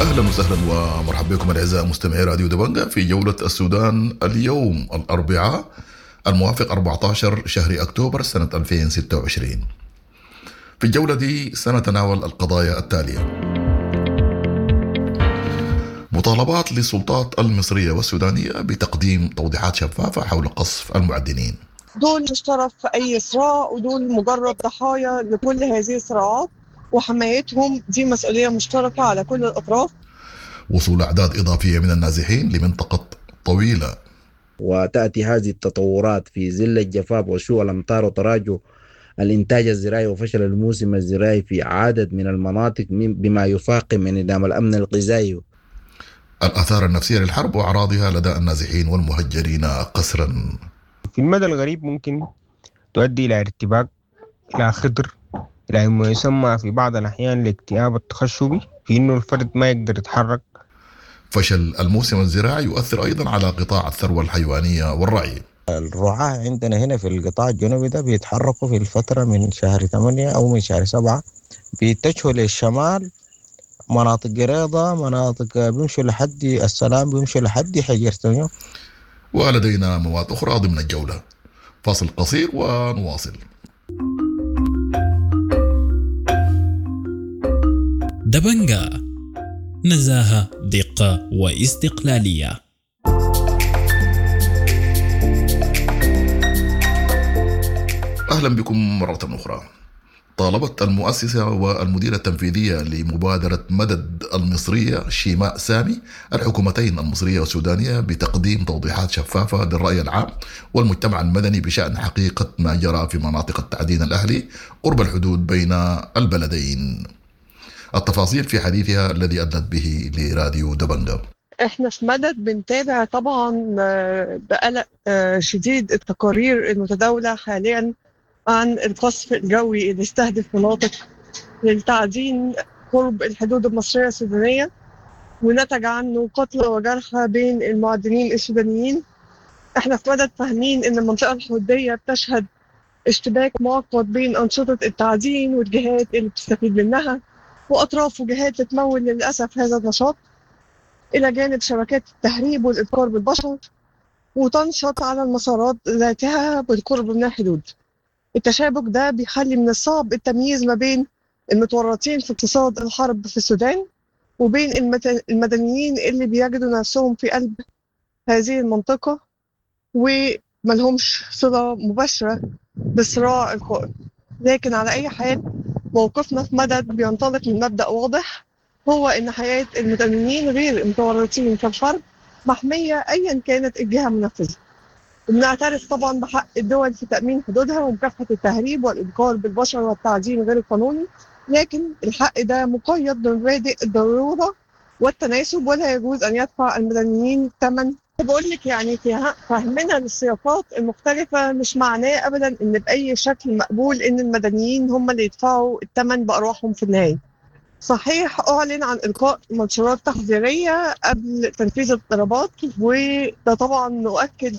اهلا وسهلا ومرحبا بكم الاعزاء مستمعي راديو دبنجا في جولة السودان اليوم الاربعاء الموافق 14 شهر اكتوبر سنة 2026. في الجولة دي سنتناول القضايا التالية: مطالبات للسلطات المصرية والسودانيه بتقديم توضيحات شفافة حول قصف المعدنين. دول مش طرف في أي صراع، ودول مجرد ضحايا لكل هذه الصراعات، وحمايتهم دي مسؤولية مشتركة على كل الأطراف. وصول اعداد اضافية من النازحين لمنطقه طويلة. وتأتي هذه التطورات في ظل الجفاف وسوء الأمطار وتراجع الإنتاج الزراعي وفشل الموسم الزراعي في عدد من المناطق بما يفاقم انعدام الأمن الغذائي. الآثار النفسية للحرب وأعراضها لدى النازحين والمهجرين قسرا. في المدى الغريب ممكن تؤدي إلى ارتباك، إلى خطر، إلى ما يسمى في بعض الأحيان الاكتئاب التخشبي، في إنه الفرد ما يقدر يتحرك. فشل الموسم الزراعي يؤثر أيضا على قطاع الثروة الحيوانية والرعي. الرعاة عندنا هنا في القطاع الجنوبي ده بيتحركوا في الفترة من شهر 8 أو من شهر 7، بيتجهوا للشمال، مناطق قريضة، مناطق بيمشوا لحد السلام، بيمشوا لحد حجرتنيو. ولدينا مواد أخرى ضمن الجولة. فاصل قصير ونواصل. دبنجا، نزاهة، دقة واستقلالية. أهلا بكم مرة أخرى. طالبت المؤسسة والمديرة التنفيذية لمبادرة مدد المصرية شيماء سامي الحكومتين المصرية والسودانية بتقديم توضيحات شفافة للرأي العام والمجتمع المدني بشأن حقيقة ما جرى في مناطق التعدين الأهلي قرب الحدود بين البلدين. التفاصيل في حديثها الذي أدلت به لراديو دبنجا. احنا في مدد بنتابع طبعا بقلق شديد التقارير المتداولة حاليا عن القصف الجوي اللي استهدف مناطق للتعدين قرب الحدود المصرية السودانية، ونتج عنه قتلى وجرحى بين المعدنين السودانيين. احنا في مدد فاهمين ان المنطقة الحدودية بتشهد اشتباك معقد بين أنشطة التعدين والجهات اللي بتستفيد منها وأطراف وجهات بتمول للأسف هذا النشاط، إلى جانب شبكات التهريب والإتجار بالبشر، وتنشط على المسارات ذاتها بالقرب من الحدود. التشابك ده بيخلي من الصعب التمييز ما بين المتورطين في اقتصاد الحرب في السودان وبين المدنيين اللي بيجدوا نفسهم في قلب هذه المنطقة وملهمش صلة مباشرة بالصراع القائم. لكن على أي حال موقفنا في مدد بينطلق من مبدأ واضح، هو إن حياة المدنيين غير المتورطين في الحرب محمية أيا كانت الجهة المنفذة. وبنعترف طبعا بحق الدول في تأمين حدودها ومكافحة التهريب والإتجار بالبشر والتعدين غير القانوني، لكن الحق ده مقيد بمبادئ الضرورة والتناسب، ولا يجوز أن يدفع المدنيين ثمن. بقول لك يعني فهمنا للسياقات المختلفة مش معناه أبدا إن بأي شكل مقبول إن المدنيين هم اللي يدفعوا الثمن بأرواحهم في النهاية. صحيح أعلن عن إلقاء منشورات تحذيرية قبل تنفيذ الضربات، وده طبعا نؤكد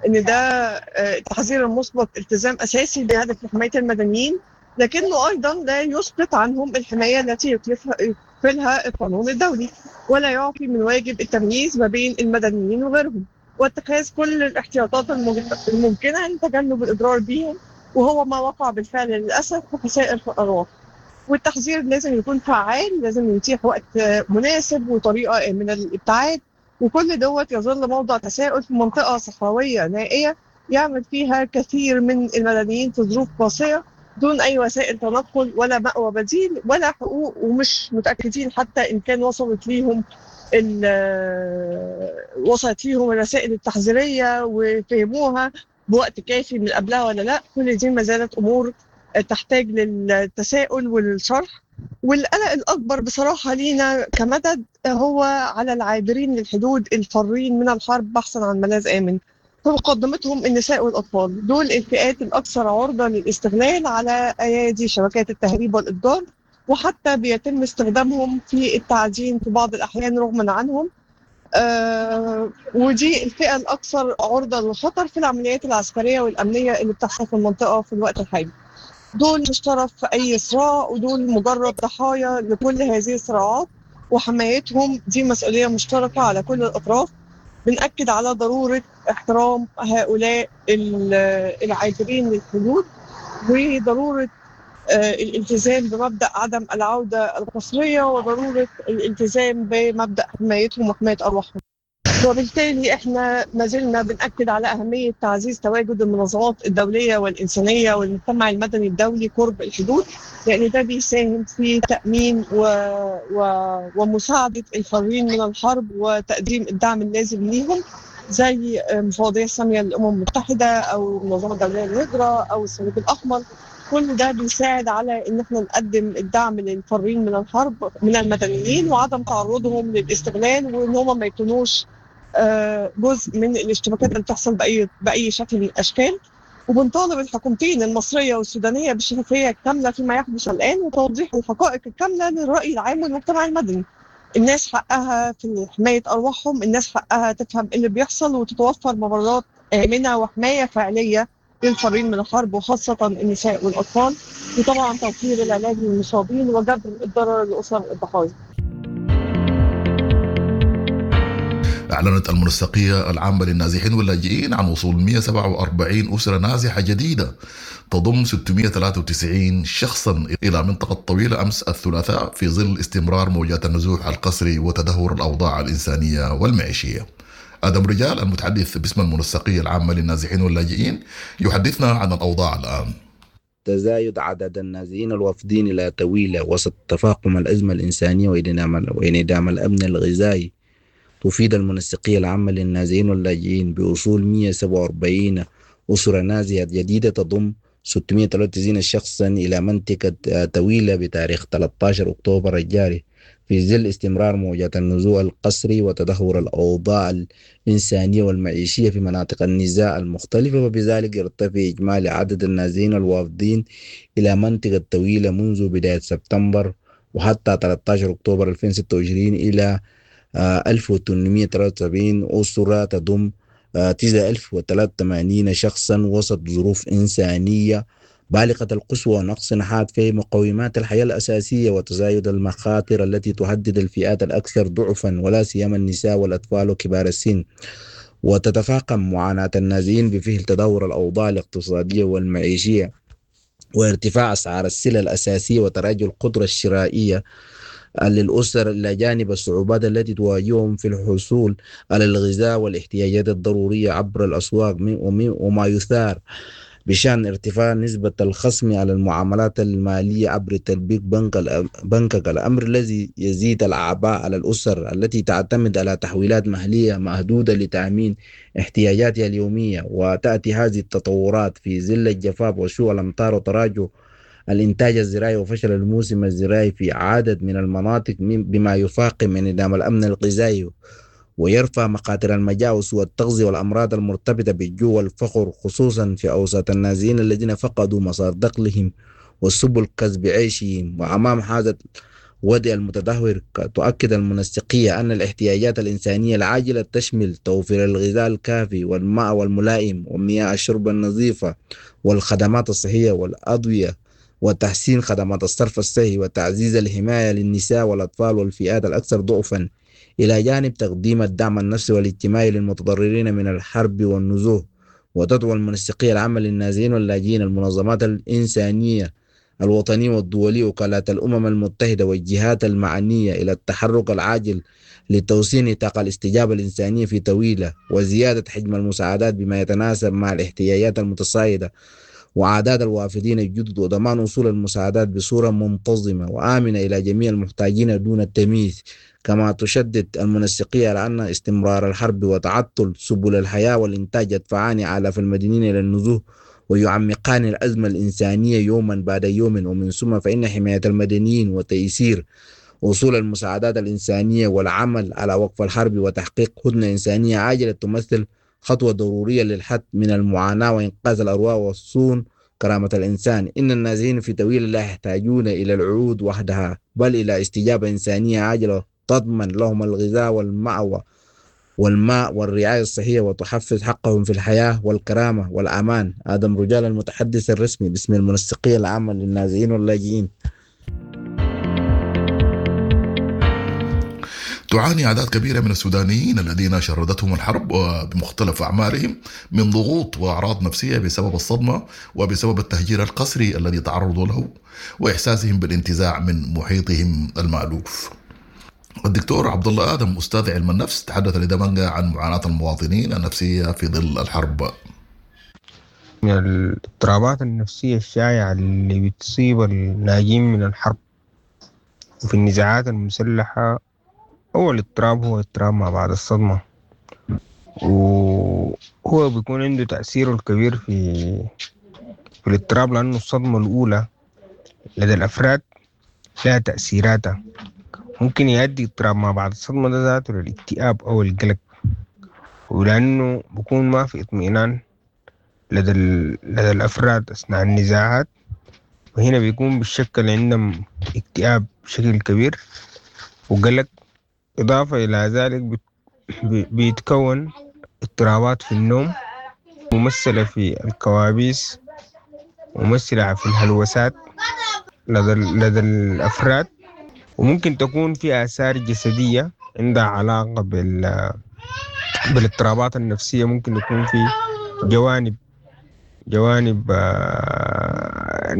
ان ده التحذير المسبق التزام اساسي بهدف حماية المدنيين، لكنه ايضا لا يسقط عنهم الحماية التي يكفلها القانون الدولي، ولا يعفي من واجب التمييز ما بين المدنيين وغيرهم، واتخاذ كل الاحتياطات الممكنة لتجنب الاضرار بهم، وهو ما وقع بالفعل للاسف بخسائر في الارواح. والتحذير لازم يكون فعال، لازم يتيح وقت مناسب وطريقه من الابتعاد، وكل دوت يظل موضع تساؤل في منطقة صحراوية نائية يعمل فيها كثير من المدنيين في ظروف قاسية دون أي وسائل تنقل ولا مأوى بديل ولا حقوق، ومش متأكدين حتى إن كان وصلت ليهم الرسائل التحذيرية وفهموها بوقت كافي من قبلها ولا لا. كل دي ما زالت أمور تحتاج للتساؤل والشرح. والقلق الأكبر بصراحة لينا كمدد هو على العابرين للحدود الفارين من الحرب بحثا عن ملاذ آمن، في مقدمتهم النساء والأطفال. دول الفئات الأكثر عرضة للاستغلال على أيادي شبكات التهريب والإتجار، وحتى بيتم استخدامهم في التعدين في بعض الأحيان رغما عنهم. ودي الفئة الأكثر عرضة للخطر في العمليات العسكرية والأمنية اللي بتحصل في المنطقة في الوقت الحالي. دول مش طرف في أي صراع، ودول مجرد ضحايا لكل هذه الصراعات، وحمايتهم دي مسؤولية مشتركة على كل الأطراف. بنأكد على ضرورة احترام هؤلاء العابرين للحدود، وضرورة الالتزام بمبدأ عدم العودة القسرية، وضرورة الالتزام بمبدأ حمايتهم وحماية أرواحهم. وبالتالي احنا ما زلنا بنأكد على أهمية تعزيز تواجد المنظمات الدولية والإنسانية والمجتمع المدني الدولي قرب الحدود، لأن ده بيساهم في تأمين ومساعدة الفارين من الحرب وتقديم الدعم اللازم ليهم، زي مفوضية السامية للأمم المتحدة أو المنظمة الدولية للهجرة أو الصليب الأحمر. كل ده بيساعد على إن احنا نقدم الدعم للفارين من الحرب من المدنيين وعدم تعرضهم للاستغلال، وإن هم ما يكونوش جزء من الاشتباكات اللي بتحصل بأي شكل من الأشكال. وبنطالب الحكومتين المصرية والسودانية بالشفافية الكاملة فيما يحدث الآن وتوضيح الحقائق الكاملة للرأي العام والمجتمع المدني. الناس حقها في حماية أرواحهم، الناس حقها تفهم اللي بيحصل وتتوفر ممرات آمنة وحماية فعلية للفارين من الحرب وخاصة النساء والأطفال، وطبعا توفير العلاج للمصابين وجبر الضرر لأسر الضحايا. أعلنت المنسقية العامة للنازحين واللاجئين عن وصول 147 أسرة نازحة جديدة تضم 693 شخصا إلى منطقة طويلة أمس الثلاثاء في ظل استمرار موجات النزوح القسري وتدهور الأوضاع الإنسانية والمعيشية. آدم رجال المتحدث باسم المنسقية العامة للنازحين واللاجئين يحدثنا عن الأوضاع الآن. تزايد عدد النازحين الوافدين إلى طويلة وسط تفاقم الأزمة الإنسانية وانعدام الأمن الغذائي، تفيد المنسقية العامة للنازحين واللاجئين بوصول 147 أسرة نازحة جديدة تضم 693 شخصا إلى منطقة طويلة بتاريخ 13 أكتوبر الجاري، في ظل استمرار موجات النزوح القسري وتدهور الأوضاع الإنسانية والمعيشية في مناطق النزاع المختلفة. وبذلك يرتفع إجمالي عدد النازحين الوافدين إلى منطقة طويلة منذ بداية سبتمبر وحتى 13 أكتوبر 2026 إلى 1873 أسرة تضم 9083 شخصا وسط ظروف إنسانية بالغة القسوة ونقص حاد في مقومات الحياة الأساسية وتزايد المخاطر التي تهدد الفئات الأكثر ضعفا ولا سيما النساء والأطفال وكبار السن. وتتفاقم معاناة النازحين بفعل تدهور الأوضاع الاقتصادية والمعيشية وارتفاع أسعار السلع الأساسية وتراجع القدرة الشرائية للأسر، إلى جانب الصعوبات التي تواجههم في الحصول على الغذاء والاحتياجات الضرورية عبر الأسواق، وما يثار بشأن ارتفاع نسبة الخصم على المعاملات المالية عبر تطبيق بنكك، الأمر الذي يزيد الأعباء على الأسر التي تعتمد على تحويلات مالية محدودة لتأمين احتياجاتها اليومية. وتأتي هذه التطورات في ظل الجفاف وسوء الأمطار وتراجع الإنتاج الزراعي وفشل الموسم الزراعي في عدد من المناطق، بما يفاقم انعدام الأمن الغذائي ويرفع مخاطر المجاعة وسوء التغذية والأمراض المرتبطة بالجوع والفقر، خصوصا في أوساط النازحين الذين فقدوا مصادر دخلهم وسبل كسب عيشهم. وأمام هذا الوضع المتدهور، تؤكد المنسقية أن الاحتياجات الإنسانية العاجلة تشمل توفير الغذاء الكافي والماء والملائم ومياه الشرب النظيفة والخدمات الصحية والأدوية وتحسين خدمات الصرف الصحي وتعزيز الحماية للنساء والأطفال والفئات الأكثر ضعفا، إلى جانب تقديم الدعم النفسي والاجتماعي للمتضررين من الحرب والنزوح. وتدعو المنسقية العامة للنازحين واللاجئين المنظمات الإنسانية الوطنية والدولية وكالات الأمم المتحدة والجهات المعنية إلى التحرك العاجل لتوسيع نطاق الاستجابة الإنسانية في طويلة وزيادة حجم المساعدات بما يتناسب مع الاحتياجات المتصاعدة وعادات الوافدين الجدد، وضمان وصول المساعدات بصورة منتظمة وآمنة إلى جميع المحتاجين دون التمييز. كما تشدد المنسقية على أن استمرار الحرب وتعطل سبل الحياة والإنتاج يدفعان آلاف المدنيين إلى النزوح ويعمقان الأزمة الإنسانية يوما بعد يوم. ومن ثم فإن حماية المدنيين وتيسير وصول المساعدات الإنسانية والعمل على وقف الحرب وتحقيق هدنة إنسانية عاجلة تمثل خطوة ضرورية للحد من المعاناة وإنقاذ الأرواح وصون كرامة الإنسان. إن النازحين في طويل لا يحتاجون إلى العود وحدها، بل إلى استجابة إنسانية عاجلة تضمن لهم الغذاء والمأوى والماء والرعاية الصحية وتحفز حقهم في الحياة والكرامة والأمان. آدم رجال، المتحدث الرسمي باسم المنسقية العامة للنازحين واللاجئين. تعاني أعداد كبيرة من السودانيين الذين شردتهم الحرب وبمختلف أعمارهم من ضغوط وأعراض نفسية بسبب الصدمة وبسبب التهجير القسري الذي تعرضوا له وإحساسهم بالانتزاع من محيطهم المألوف. الدكتور عبد الله آدم أستاذ علم النفس تحدث لدمنجة عن معاناة المواطنين النفسية في ظل الحرب. من الاضطرابات النفسية الشائعة اللي بتصيب الناجين من الحرب وفي النزاعات المسلحة، أول اضطراب هو اضطراب ما بعد الصدمة، وهو بيكون عنده تأثيره الكبير في الاضطراب، لأنه الصدمة الأولى لدى الأفراد لها تأثيراتها. ممكن يؤدي اضطراب ما بعد الصدمة ده ذاته للاكتئاب أو القلق، ولأنه بيكون ما في اطمئنان لدى الأفراد أثناء النزاعات، وهنا بيكون بالشكل عندهم اكتئاب بشكل كبير وقلق. إضافة إلى ذلك بيتكون اضطرابات في النوم ممثلة في الكوابيس، ممثلة في الهلوسات لدى الأفراد، وممكن تكون في آثار جسدية عندها علاقة بالاضطرابات النفسية. ممكن يكون في جوانب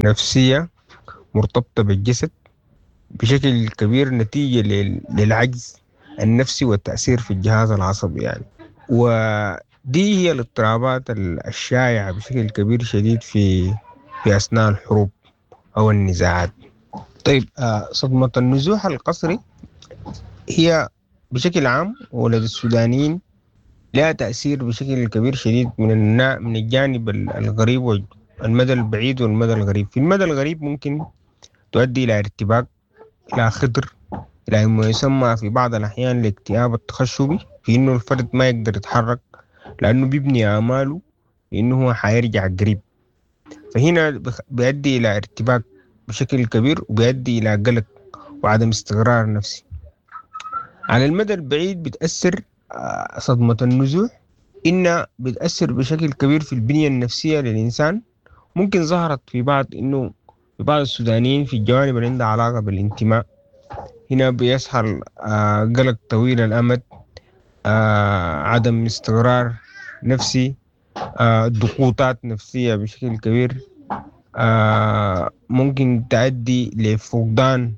نفسية مرتبطة بالجسد بشكل كبير نتيجة للعجز النفسي والتأثير في الجهاز العصبي يعني. ودي هي الاضطرابات الشائعة بشكل كبير شديد في أثناء الحروب أو النزاعات. طيب، صدمة النزوح القسري هي بشكل عام ولدى السودانيين لها تأثير بشكل كبير شديد من الجانب الغريب والمدى البعيد والمدى الغريب. في المدى الغريب ممكن تؤدي إلى ارتباك، إلى خطر، إلى ما يسمى في بعض الأحيان الاكتئاب التخشبي، في إنه الفرد ما يقدر يتحرك لأنه بيبني آماله إنه هو حيرجع قريب. فهنا بيؤدي إلى ارتباك بشكل كبير وبيؤدي إلى قلق وعدم استقرار نفسي. على المدى البعيد بتأثر صدمة النزوح إنها بتأثر بشكل كبير في البنية النفسية للإنسان. ممكن ظهرت في بعض إنه في بعض السودانيين في الجوانب اللي عندها علاقة بالانتماء، هنا بيظهر قلق طويل الأمد، عدم استقرار نفسي، ضغوطات نفسية بشكل كبير، ممكن تؤدي لفقدان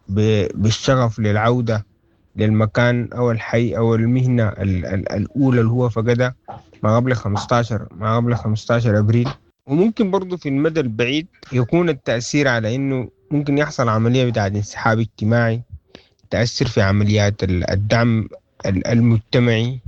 بالشغف للعودة للمكان أو الحي أو المهنة الأولى اللي هو فقدها ما قبل 15 أبريل. وممكن برضو في المدى البعيد يكون التأثير على إنه ممكن يحصل عملية بتاعة انسحاب اجتماعي، تأثر في عمليات الدعم المجتمعي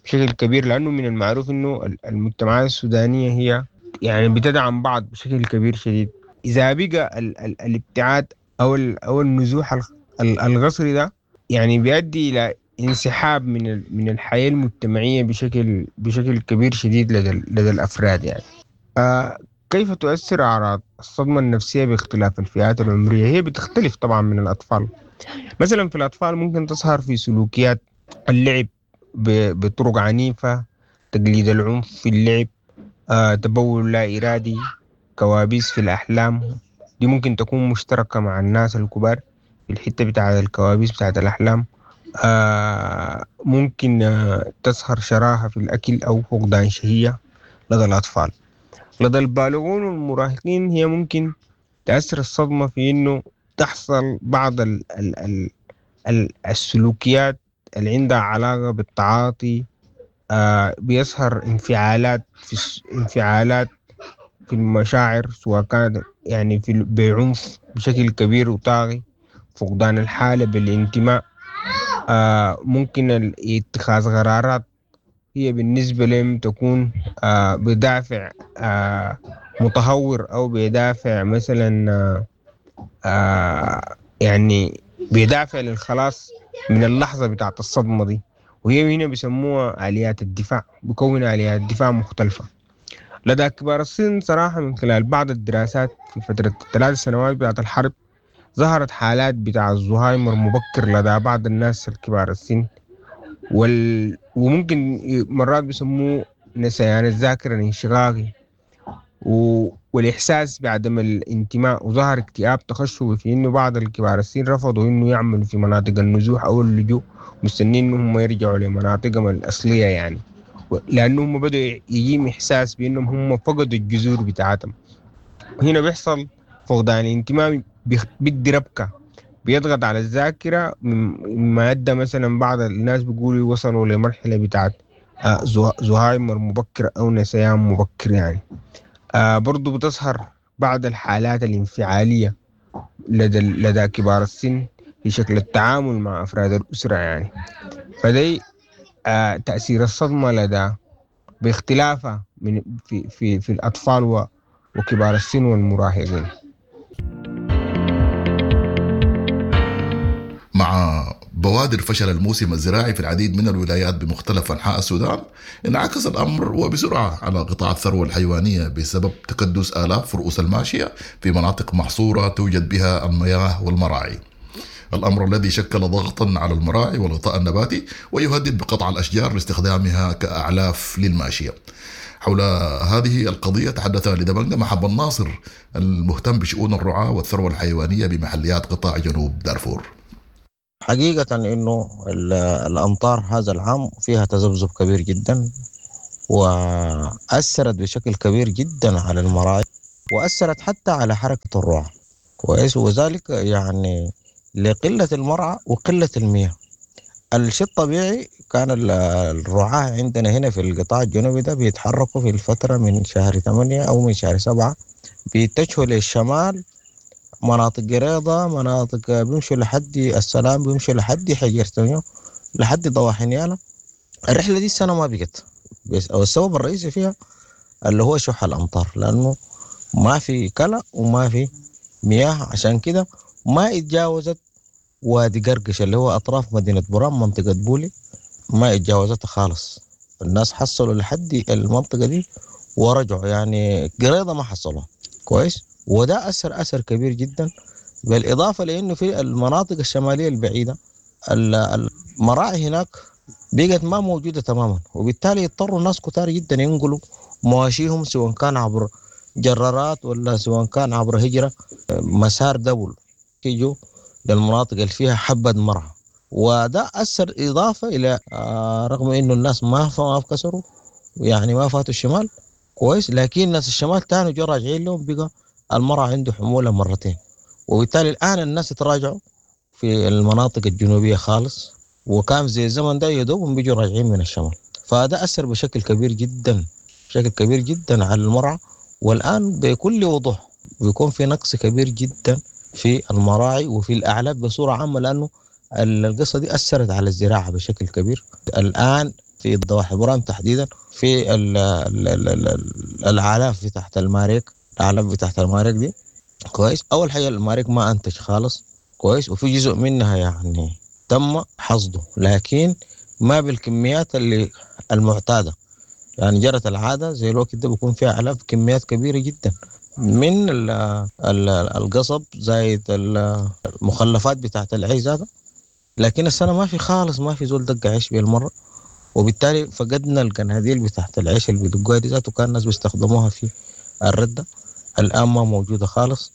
بشكل كبير، لأنه من المعروف إنه المجتمعات السودانية هي يعني بتدعم بعض بشكل كبير شديد. إذا بقى الابتعاد أو النزوح القسري ده يعني بيؤدي إلى انسحاب من الحياة المجتمعية بشكل كبير شديد لدى الأفراد يعني. كيف تؤثر أعراض الصدمة النفسية باختلاف الفئات العمرية؟ هي بتختلف طبعا من الأطفال. مثلا في الأطفال ممكن تظهر في سلوكيات اللعب بطرق عنيفة، تقليد العنف في اللعب، تبول لا إرادي، كوابيس في الأحلام. دي ممكن تكون مشتركة مع الناس الكبار في الحتة بتاعة الكوابيس بتاعة الأحلام. ممكن تظهر شراهة في الأكل أو فقدان شهية لدى الأطفال. لدى البالغون والمراهقين هي ممكن تأثر الصدمة في إنه تحصل بعض ال ال ال ال السلوكيات اللي عندها علاقة بالتعاطي. بيظهر انفعالات في المشاعر، سواء كانت يعني في بعنف بشكل كبير وطاغي، فقدان الحالة بالانتماء، ممكن اتخاذ قرارات هي بالنسبة لهم تكون بدافع متهور أو بدافع مثلا يعني بدافع للخلاص من اللحظة بتاعت الصدمة دي، وهي هنا بيسموها آليات الدفاع، بكون آليات دفاع مختلفة. لدى كبار السن صراحة من خلال بعض الدراسات في فترة 3 سنوات بتاعت الحرب ظهرت حالات بتاع الزهايمر مبكر لدى بعض الناس الكبار السن، وممكن مرات بيسموه نسيان الذاكرة الانشغاغي. والإحساس بعدم الانتماء، وظهر اكتئاب تخشبي في إنه بعض الكبار السن رفضوا إنه يعملوا في مناطق النزوح أو اللجوء، مستنين إنهم يرجعوا لمناطقهم الأصلية يعني، لأنهم بدأوا يجيهم إحساس بإنهم هم فقدوا الجذور بتاعتهم. هنا بيحصل فقدان الانتماء، بيدي ربكة، بيضغط على الذاكرة، مما أدى مثلا بعض الناس بيقولوا وصلوا لمرحلة بتاعت زهايمر مبكر أو نسيان مبكر يعني. برضو بتظهر بعض الحالات الانفعالية لدى كبار السن في شكل التعامل مع أفراد الأسرة يعني. فدي تأثير الصدمة لدى باختلافها من في في في الأطفال وكبار السن والمراهقين. مع بوادر فشل الموسم الزراعي في العديد من الولايات بمختلف أنحاء السودان، انعكس الأمر وبسرعة على قطاع الثروة الحيوانية بسبب تكدس آلاف رؤوس الماشية في مناطق محصورة توجد بها المياه والمراعي. الأمر الذي شكل ضغطا على المراعي والغطاء النباتي ويهدد بقطع الأشجار لاستخدامها كأعلاف للماشية. حول هذه القضية تحدث لدبنجة محب الناصر المهتم بشؤون الرعاة والثروة الحيوانية بمحليات قطاع جنوب دارفور. حقيقة إنه الأمطار هذا العام فيها تذبذب كبير جدا، وأثرت بشكل كبير جدا على المراعي، وأثرت حتى على حركة الرعاة. كويس، وذلك يعني لقلة المرعى وقلة المياه. الشيء الطبيعي كان الرعاة عندنا هنا في القطاع الجنوبي ده بيتحركوا في الفترة من شهر 8 أو من شهر 7، بيتجهوا للشمال، مناطق قريضة، مناطق بيمشوا لحد السلام، بيمشوا لحد حجرتونيو، لحد ضواحي نيالا. الرحلة دي السنة ما بقت، بس أو السبب الرئيسي فيها اللي هو شح الأمطار، لأنه ما في كلا وما في مياه، عشان كده ما اتجاوزت وادي قرقش اللي هو أطراف مدينة برام منطقة بولي، ما اتجاوزتها خالص. الناس حصلوا لحد المنطقة دي ورجعوا، يعني قريضة ما حصلوا. كويس، وده أثر كبير جدا، بالإضافة لأنه في المناطق الشمالية البعيدة المراعي هناك بقت ما موجودة تماما، وبالتالي يضطروا الناس كتار جدا ينقلوا مواشيهم، سواء كان عبر جرارات ولا سواء كان عبر هجرة مسار دبل، يجوا للمناطق اللي فيها حبة مرعى. وده أثر إضافة إلى رغم إنه الناس ما كسروا يعني ما فاتوا الشمال. كويس، لكن الناس الشمال تاني جو راجعين لهم، بقى المرعى عنده حمولة مرتين، وبالتالي الآن الناس تراجعوا في المناطق الجنوبية خالص، وكان زي الزمن ده يدوبهم بيجوا راجعين من الشمال. فده أثر بشكل كبير جدا، بشكل كبير جدا على المرعى. والآن بكل وضوح بيكون في نقص كبير جدا في المراعي وفي الأعلاف بصورة عامة، لأنه القصة دي أثرت على الزراعة بشكل كبير. الآن في الضواحي برام تحديدا في الأعلاف في تحت الماريك، الأعلاف بتاعت الماريك دي. كويس، أول حاجة الماريك ما أنتج خالص. كويس، وفي جزء منها يعني تم حصده، لكن ما بالكميات اللي المعتادة. يعني جرت العادة زي الوقت ده بيكون فيها أعلاف كميات كبيرة جدا من القصب زايد المخلفات بتاعت العيش هذا، لكن السنة ما في خالص، ما في زول دق عيش بالمرة، وبالتالي فقدنا القناديل بتاعت العيش اللي بيدقوها دي ذاته، كان الناس بيستخدموها في الردة، الآن ما موجودة خالص.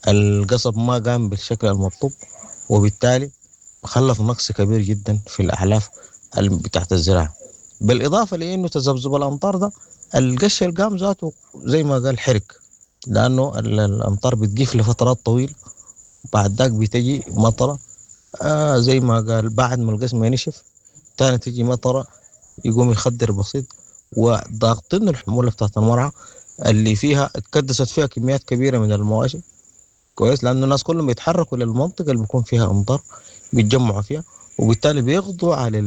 القصب ما قام بالشكل المطلوب، وبالتالي خلف نقص كبير جدا في الأعلاف بتاعت الزراعة. بالإضافة لأنه تذبذب الأمطار ده القش اللي قام ذاته زي ما قال حرق، لأنه الأمطار بتقيف لفترات طويلة، بعد ذاك بتجي مطرة زي ما قال بعد ما القسم ينشف تاني تجي مطرة يقوم يخدر بسيط، وضاغطين الحمولة بتاعت المرعى اللي فيها اتكدست فيها كميات كبيرة من المواشي. كويس، لأنه الناس كلهم بيتحركوا للمنطقة اللي بيكون فيها أمطار بيتجمعوا فيها، وبالتالي بيقضوا على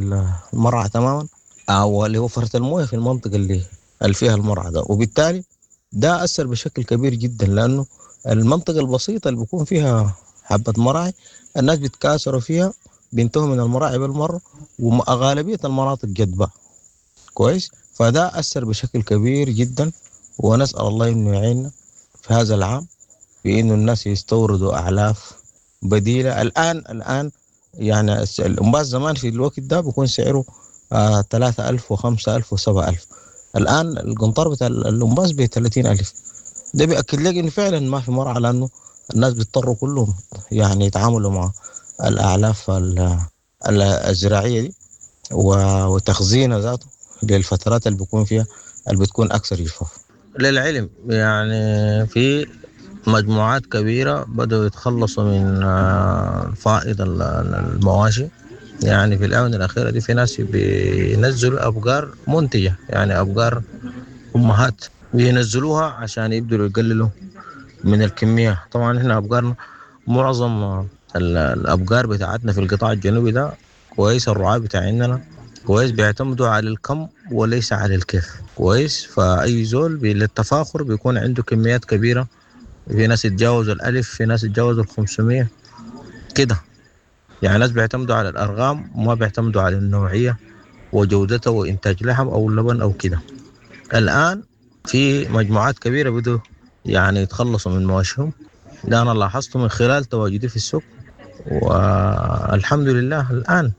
المرعى تماما، أو اللي هو فرة المويه في المنطقة اللي فيها المرعى ده، وبالتالي ده أثر بشكل كبير جدا، لأنه المنطقة البسيطة اللي بيكون فيها حبة مراعي الناس بيتكاثروا فيها، بينتهوا من المراعي بالمرة، وغالبية المناطق جدبة. كويس، فده أثر بشكل كبير جدا، ونسأل الله إنه يعيننا في هذا العام بإنه الناس يستوردوا أعلاف بديلة. الآن يعني الأمباز زمان في الوقت ده بيكون سعره 3000 و5000 و7000، الآن القنطار بتاع الأمباز ب 30000. ده بيأكد لك إنه فعلا ما في مرعى، لأنه الناس بيضطروا كلهم يعني يتعاملوا مع الأعلاف الزراعية دي وتخزينها ذاته للفترات اللي بيكون فيها اللي بتكون أكثر جفاف. للعلم يعني في مجموعات كبيرة بدأوا يتخلصوا من فائض المواشي. يعني في الآونة الأخيرة دي في ناس بينزلوا أبقار منتجة، يعني أبقار أمهات بينزلوها عشان يبدوا يقللوا من الكمية. طبعا احنا أبقارنا معظم الأبقار بتاعتنا في القطاع الجنوبي ده كويس، الرعاة بتاعنا كويس، بيعتمدوا على الكم وليس على الكيف كويس. فأي زول للتفاخر بيكون عنده كميات كبيرة، في ناس يتجاوزوا 1000، في ناس يتجاوزوا 500 كده. يعني ناس بيعتمدوا على الأرقام وما بيعتمدوا على النوعية وجودتها وإنتاج لحم أو لبن أو كده. الآن في مجموعات كبيرة بدوا يعني يتخلصوا من مواشيهم، ده أنا لاحظته من خلال تواجدي في السوق، والحمد لله الآن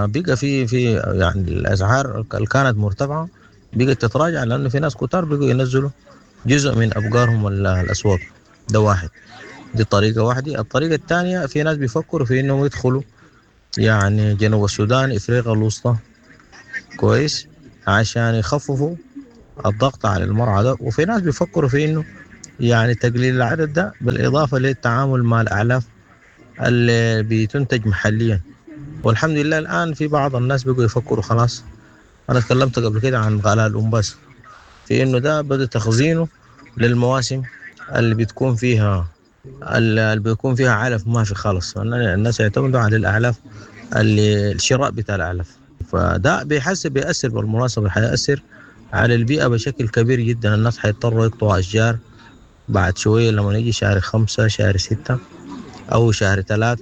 بقى في يعني الأسعار اللي كانت مرتفعة بقت تتراجع، لأنه في ناس كتار بقوا ينزلوا جزء من أبقارهم الأسواق. ده واحد، دي طريقة واحدة. الطريقة الثانية في ناس بيفكروا في إنهم يدخلوا يعني جنوب السودان، إفريقيا الوسطى كويس، عشان يخففوا الضغط على المرعى ده. وفي ناس بيفكروا في إنه يعني تقليل العدد ده بالإضافة للتعامل مع الأعلاف اللي بتنتج محليا. والحمد لله الآن في بعض الناس بيقوا يفكروا خلاص. أنا تكلمت قبل كده عن غلاء الأمباس، في إنه ده بدأ تخزينه للمواسم اللي بتكون فيها اللي بيكون فيها علف ما في خالص، الناس يعتمدوا على الأعلاف اللي الشراء بتاع الأعلاف. فده بيحسب بيأثر بالمناسبة، حيأثر على البيئة بشكل كبير جدا. الناس حيضطروا يقطعوا أشجار بعد شوية لما يجي شهر 5 شهر 6 أو شهر 3.